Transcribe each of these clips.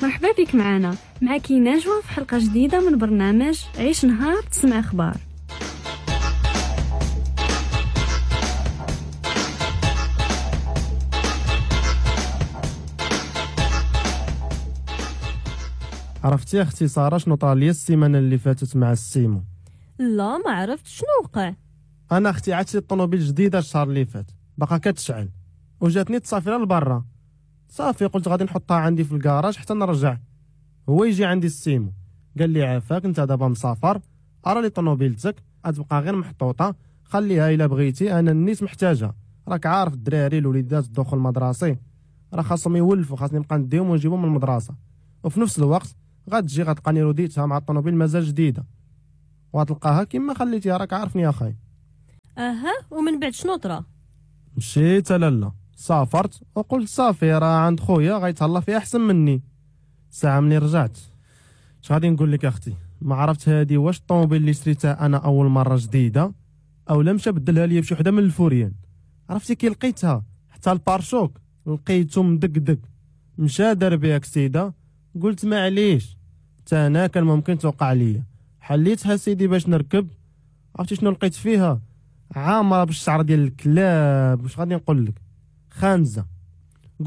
مرحبا بك معنا، معك نجوى في حلقة جديدة من برنامج عيش نهار تسمع أخبار. عرفتي اختي ساره شنو طرا لي السيمانة اللي فاتت مع السيمو؟ لا ما عرفت شنو وقع. انا اختي عاد شريت الطوموبيل جديدة الشهر اللي فات، باقا كتشعل وجاتني تصافيره لبرا. صافي قلت غادي نحطها عندي في الكراج حتى نرجع. هو يجي عندي السيمو قال لي عافاك انت دابا مسافر، ارى لي طوموبيلتك غتبقى غير محطوطة، خليها الا بغيتي، انا النيت محتاجه. راك عارف الدراري الوليدات الدخول المدرسي راه خاصهم يولفوا، خاصني نبقى نديهم ونجيبهم من المدرسة. وفي نفس الوقت غتجي غتلقاني رديتها مع الطوموبيل مازال جديدة وغتلقاها كما خليتيها، راك عارفني يا خاي. اها ومن بعد شنو طرا؟ مشيت لالا سافرت وقلت صافي راه عند خويا غيتهلا فيها احسن مني. ساعة ملي رجعت اش غادي نقول لك اختي، ما عرفت هادي واش الطوموبيل اللي شريتها انا اول مرة جديدة او لا مشى بدلها ليا بشي وحده من الفوريان. عرفتي كي لقيتها حتى ال pare-chocs لقيته مدقدق، مشى دار بها كسيده. قلت معليش حتى انا كان ممكن توقع ليا. حليتها سيدي باش نركب، عرفتي شنو لقيت فيها؟ عامرة بالشعر ديال الكلاب. واش غادي نقول لك، خانزه.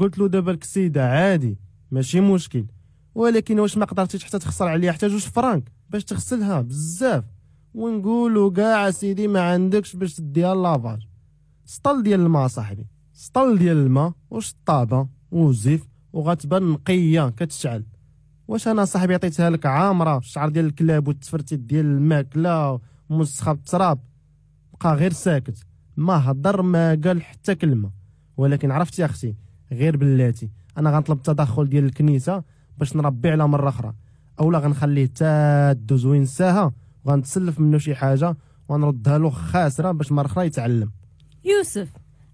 قلت له دابا الكسيده عادي ماشي مشكل، ولكن واش ما قدرتيش حتى تخسر عليها حتى 2 فرانك باش تغسلها بزاف، ونقولوا كاع سيدي ما عندكش باش تديها lavage. سطل ديال الماء صاحبي، سطل ديال الماء وشطابه وزيف وغتبان نقية كتشعل. واش انا صاحبي عطيتها لك عامرة الشعر ديال الكلاب والتفرتيت ديال الماكلة ومسخه بالتراب؟ بقى غير ساكت، ما هضر ما قال حتى كلمة. ولكن عرفتي اختي غير بلاتي انا غنطلب التدخل ديال الكنيسة باش نربي على مرة اخرى، اولا غنخليه تا دوز وينساها وغنتسلف منه شي حاجة ونردها له خاسرة باش مرة اخرى يتعلم. يوسف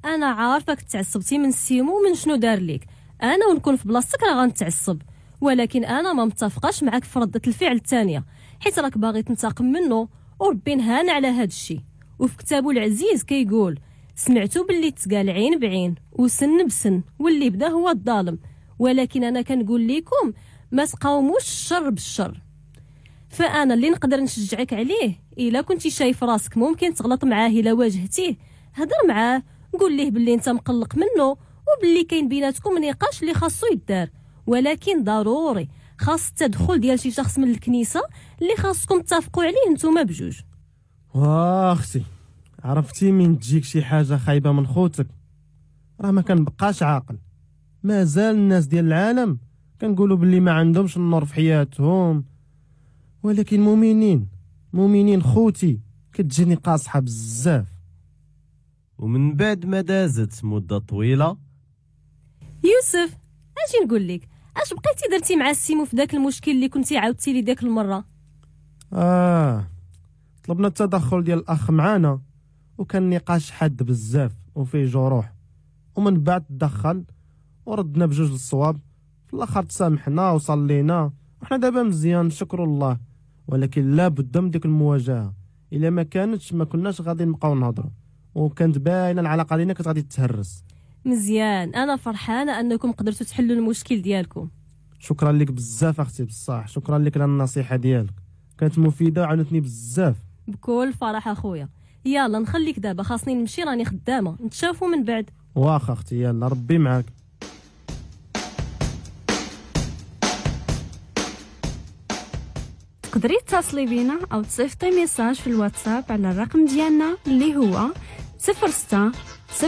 انا عارفك تعصبتي من السيمو من شنو دار لك، انا ونكون في بلاصتك راه غنتعصب، ولكن انا ما متفقاش معاك في ردة الفعل الثانية، حيت راك باغي تنتقم منه وربي نهانا على هذا الشيء. وفي كتابه العزيز كيقول سمعتوا باللي تقال عين بعين وسن بسن واللي بدا هو الظالم، ولكن انا كنقول لكم ما تقاوموش الشر بالشر. فانا اللي نقدر نشجعك عليه، الا كنتي شايف راسك ممكن تغلط معاه الا واجهتيه، هضر معاه قول ليه باللي انت مقلق منه وباللي كاين بيناتكم نقاش اللي خاصو يدار، ولكن ضروري خاص التدخل ديال شي شخص من الكنيسة اللي خاصكم تتفقوا عليه نتوما بجوج. واختي عرفتي من تجيك شي حاجة خايبة من خوتك راه ما كنبقاش عاقل. مازال الناس ديال العالم كنقولوا باللي ما عندهمش النور في حياتهم، ولكن مؤمنين خوتي كتجيني قاصحة بزاف. ومن بعد ما دازت مده طويلة، يوسف اجي نقول لك اش بقيتي درتي مع السيمو في داك المشكل اللي كنتي عاودتي لي داك المرة؟ طلبنا التدخل ديال الاخ معانا وكان نقاش حاد بزاف وفيه جروح، ومن بعد تدخل وردنا بجوج للصواب. في الاخر تسامحنا وصلينا وحنا دابا مزيان نشكر الله، ولكن لا بد من ديك المواجهة، الا ما كانتش ما كناش غادي نبقاو نهضروا، وكانت باينة العلاقة ديالنا كانت غادي تهرس. مزيان، انا فرحانة انكم قدرتوا تحلوا المشكل ديالكم. شكرا لك بزاف اختي بصح، شكرا لك على النصيحة ديالك كانت مفيدة وعاونتني بزاف. بكل فرح اخويا. يلا نخليك دابا خاصني نمشي راني خدامه، نتشافوا من بعد. واخا اختي يلا ربي معاك. تقدري تتصلي بينا او تصيفطي message في الواتساب على الرقم ديالنا اللي هو 06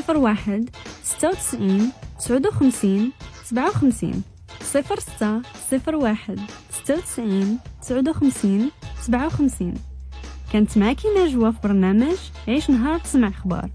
01 96 59 57 06 01 96 59 57. كانت معاكي نجوى في برنامج عيش نهار تسمع اخبار.